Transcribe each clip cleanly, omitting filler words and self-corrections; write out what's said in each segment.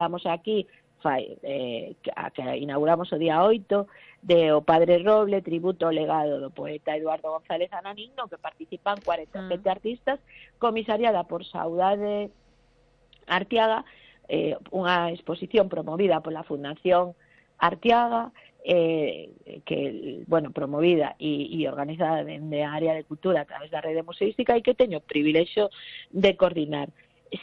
estamos aquí, que inauguramos o día 8, de O Padre Roble, tributo ao legado do poeta Eduardo González Ananín, no que participan 47 artistas, comisariada por Saudade Arteaga, unha exposición promovida pola Fundación Arteaga, que, bueno, promovida e organizada dende a área de cultura a través da rede museística e que teño o privilexio de coordinar.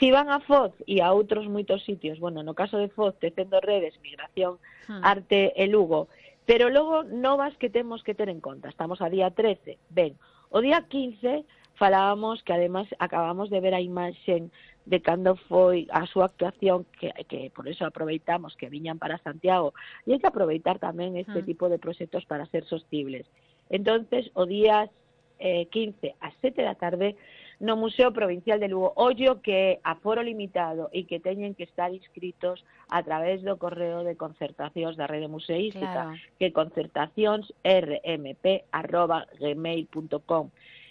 Si van a Foz e a outros moitos sitios, bueno, no caso de Foz, tecendo redes, migración, arte e Lugo, pero logo novas que temos que ter en conta. Estamos a día 13, ben, o día 15 falábamos que además acabamos de ver a imaxen de cando foi a súa actuación, que por eso aproveitamos que viñan para Santiago, e hai que aproveitar tamén este tipo de proxectos para ser sostibles. Entonces, o día 15 a 7 da tarde, no Museo Provincial de Lugo. Ollo que aforo limitado e que teñen que estar inscritos a través do correo de concertacións da rede museística, que concertacións.rmp@gmail.com.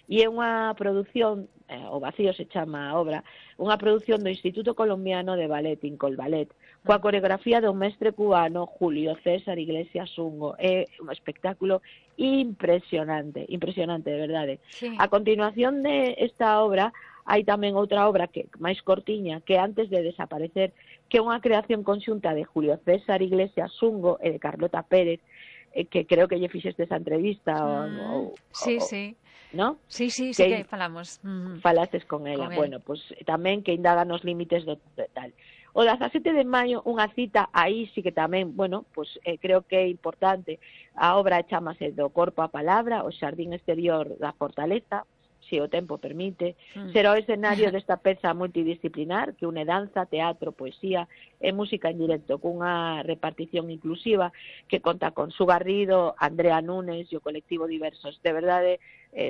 E é unha produción, o vacío se chama a obra, unha produción do Instituto Colombiano de Ballet, Incol Ballet, coa coreografía do mestre cubano Julio César Iglesias Ungo. É un espectáculo impresionante, de verdade. Sí. A continuación de esta obra, hai tamén outra obra que máis cortiña, que antes de desaparecer, que é unha creación conxunta de Julio César Iglesias Ungo e de Carlota Pérez, que creo que lle fixeste esa entrevista. Sí. ¿No? Sí, que falamos. Falastes con ela. Bueno, pues tamén que indaga nos límites do tal. O 17 de maio, unha cita, aí sí que tamén, bueno, pues creo que é importante. A obra chamase Do corpo á palabra, o xardín exterior da fortaleza, se o tempo permite. Será o escenario desta peza multidisciplinar que une danza, teatro, poesía e música en directo, cunha repartición inclusiva que conta con Su Garrido, Andrea Núñez e o colectivo Diversos. De verdade,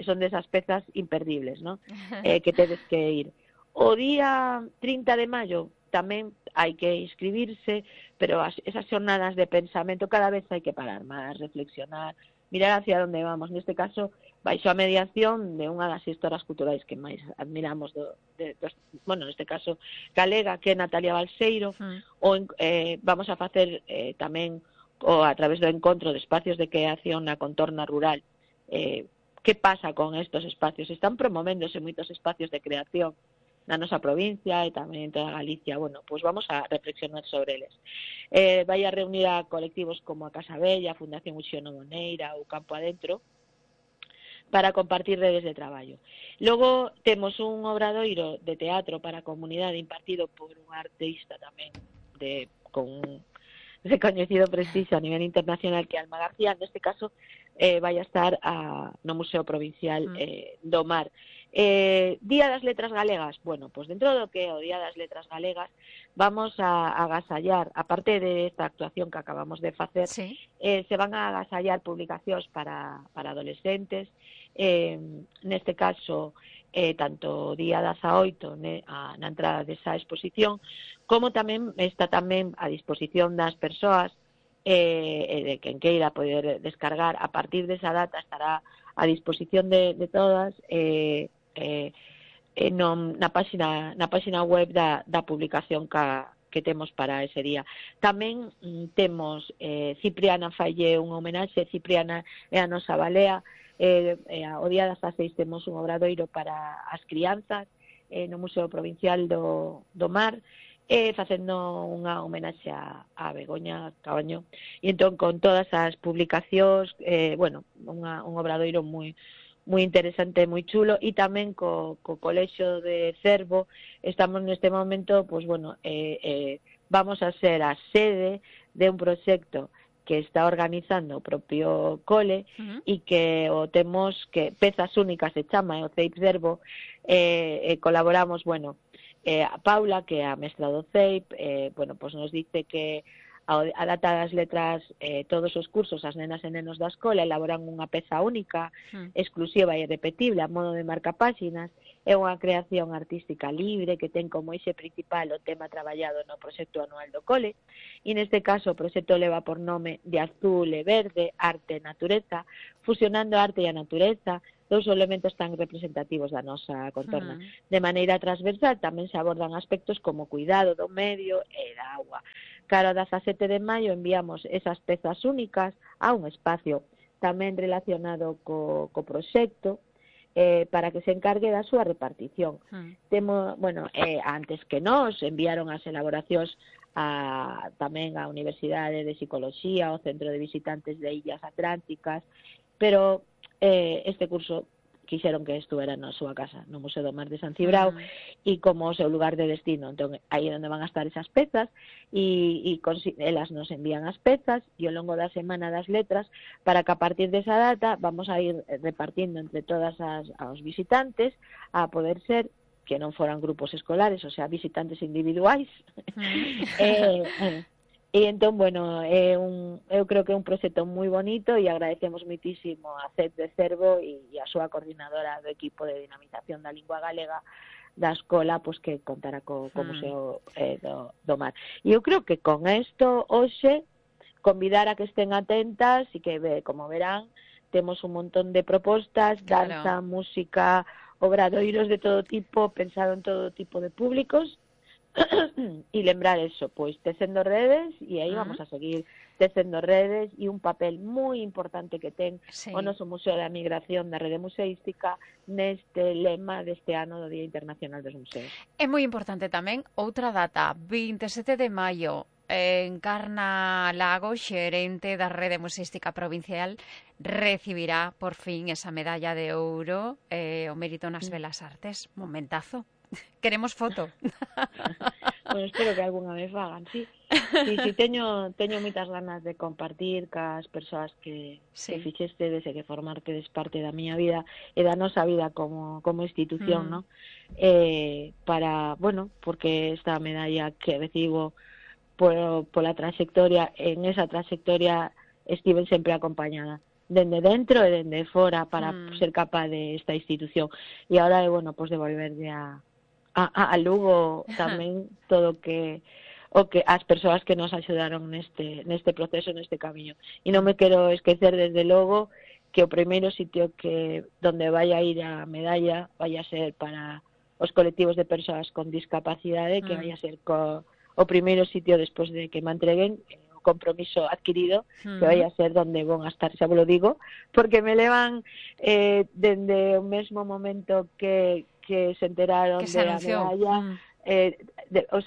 son desas pezas imperdibles, ¿no? Que tedes que ir. O día 30 de maio tamén hai que inscribirse, pero esas xornadas de pensamento cada vez hai que parar máis, reflexionar, mirar hacia onde vamos. Neste caso, baixo a mediación de unha das gestoras culturais que máis admiramos, bueno, neste caso, galega, que é Natalia Balseiro, vamos a facer tamén, a través do encontro de espacios de creación na contorna rural. Que pasa con estos espacios? Están promovéndose moitos espacios de creación na nosa provincia e tamén en toda Galicia. Bueno, pois vamos a reflexionar sobre eles. Vai a reunir a colectivos como a Casa Bella, a Fundación Uxío Moneira ou Campo Adentro para compartir redes de traballo. Logo temos un obradoiro de teatro para a comunidade impartido por un artista tamén con un recoñecido prestixio a nivel internacional, que é Alma García. Neste caso vai a estar no Museo Provincial do Mar. Día das Letras Galegas. Bueno, pues dentro do que é o Día das Letras Galegas, vamos a agasallar, aparte de esta actuación que acabamos de facer, se van a agasallar publicacións para adolescentes, neste caso tanto o día 18 na entrada desa exposición, como tamén está tamén a disposición das persoas de quen queira poder descargar. A partir desa data estará a disposición de todas na página web da publicación que temos para ese día. Tamén temos Cipriana falle unha homenaxe. Cipriana é a nosa balea. O día 16 temos un obradoiro para as crianzas no Museo Provincial do Mar, facendo unha homenaxe a Begoña Cabaño, e entón con todas as publicacións, bueno, un obradoiro moi interesante, moi chulo. E tamén co Colexio de Cervo estamos neste momento, pues bueno, vamos a ser a sede de un proxecto que está organizando o propio cole e que o temos, que Pezas Únicas se chama, o CEIP Cervo, colaboramos, bueno, a Paula, que é a mestra do CEIP, bueno, pues nos dice que a data das letras, todos os cursos, as nenas e nenos da escola elaboran unha peza única, exclusiva e irrepetible a modo de marcapáxinas. É unha creación artística libre que ten como eixe principal o tema traballado no proxecto anual do cole, e neste caso o proxecto leva por nome De azul e verde, arte e natureza, fusionando a arte e a natureza dous elementos tan representativos da nosa contorna. De maneira transversal tamén se abordan aspectos como cuidado do medio e da auga. Cara ao 17 de maio enviamos esas pezas únicas a un espacio tamén relacionado co proxecto, para que se encargue da súa repartición. Temos, antes que nós enviaron as elaboracións tamén á Universidade de Psicología, ao Centro de Visitantes de Illas Atlánticas, pero este curso quixeron que estuvera na súa casa, no Museo do Mar de San Cibrao, e como o seu lugar de destino, entón aí é onde van a estar esas pezas, e elas nos envían as pezas, e ao longo da Semana das Letras, para que a partir desa data vamos a ir repartindo entre todas os visitantes, a poder ser que non foran grupos escolares, o sea, visitantes individuais. E entón, eu creo que é un proxecto moi bonito e agradecemos moitísimo a CEP de Cervo e a súa coordinadora do equipo de dinamización da lingua galega da escola, pois que contará co Museo do Mar. E eu creo que con isto, hoxe, convidar a que estén atentas e que, como verán, temos un montón de propostas, danza, música, obradoiros de todo tipo, pensado en todo tipo de públicos, e lembrar eso, pois tecendo redes, e aí vamos a seguir tecendo redes, e un papel moi importante que ten o noso Museo da Migración da Rede Museística neste lema deste ano do Día Internacional dos Museos. É moi importante tamén outra data, 27 de maio, Encarna Lago, xerente da Rede Museística Provincial, recibirá por fin esa medalla de ouro, o mérito nas belas artes. Momentazo. Queremos foto. Espero que algunha vez fagan, sí. Sí, teño moitas ganas de compartir cas persoas que fixestedes e que formartedes parte da miña vida e da nosa vida como institución, ¿no? Porque esta medalla que recibo pola trayectoria, en esa trayectoria estiven sempre acompañada, dende dentro e dende fora, para ser capaz de esta institución. E agora é, pues devolverlle a Lugo tamén todo o que as persoas que nos axudaron neste proceso, neste camiño. E non me quero esquecer, desde logo, que o primeiro sitio donde vai a ir a medalla vai a ser para os colectivos de persoas con discapacidade, que vai a ser o primeiro sitio despois de que me entreguen o compromiso adquirido, que vai a ser donde vão a estar, xa vos lo digo, porque me levan dende o mesmo momento que se enteraron de la medalla,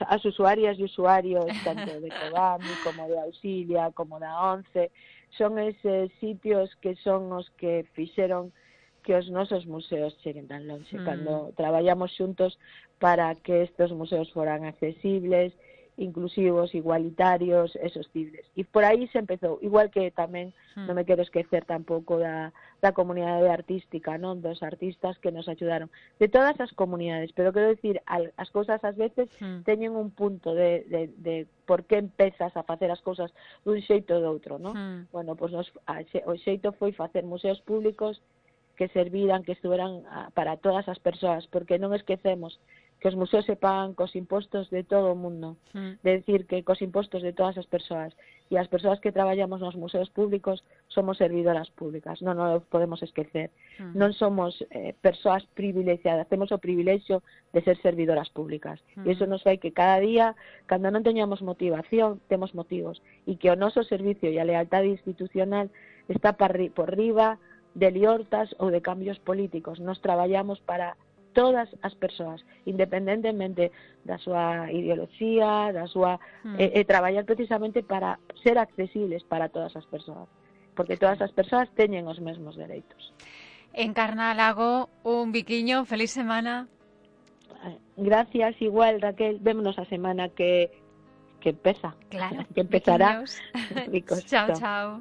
as usuarias e usuarios tanto de Codami como de Auxilia como da ONCE, son eses sitios que son os que fixeron que os nosos museos cheguen tan longe, cando traballamos xuntos para que estes museos foran accesibles, inclusivos, igualitarios e sostibles. E por aí se empezou, igual que tamén non me quero esquecer tampouco da comunidade artística, non, dos artistas que nos axudaron, de todas as comunidades, pero quero dicir, as cousas ás veces teñen un punto de por que empezas a facer as cousas dun xeito ou do outro, non? O xeito foi facer museos públicos que serviran, que estuveran para todas as persoas, porque non esquecemos que os museos se pagan cos impostos de todo o mundo, de decir que cos impostos de todas as persoas, e as persoas que traballamos nos museos públicos somos servidoras públicas, non o podemos esquecer. Non somos persoas privilexiadas, temos o privilexio de ser servidoras públicas, e iso nos fai que cada día, cando non teñamos motivación, temos motivos, e que o noso servicio e a lealtade institucional está por riba de liortas ou de cambios políticos. Nos traballamos para todas as persoas, independentemente da súa ideoloxía, da súa traballar precisamente para ser accesibles para todas as persoas, porque todas as persoas teñen os mesmos dereitos. Encarna Lago, un biquiño, feliz semana. Gracias, igual, Raquel, vémonos a semana que empeza. Claro, que empezará. Ricos. Chao, chao.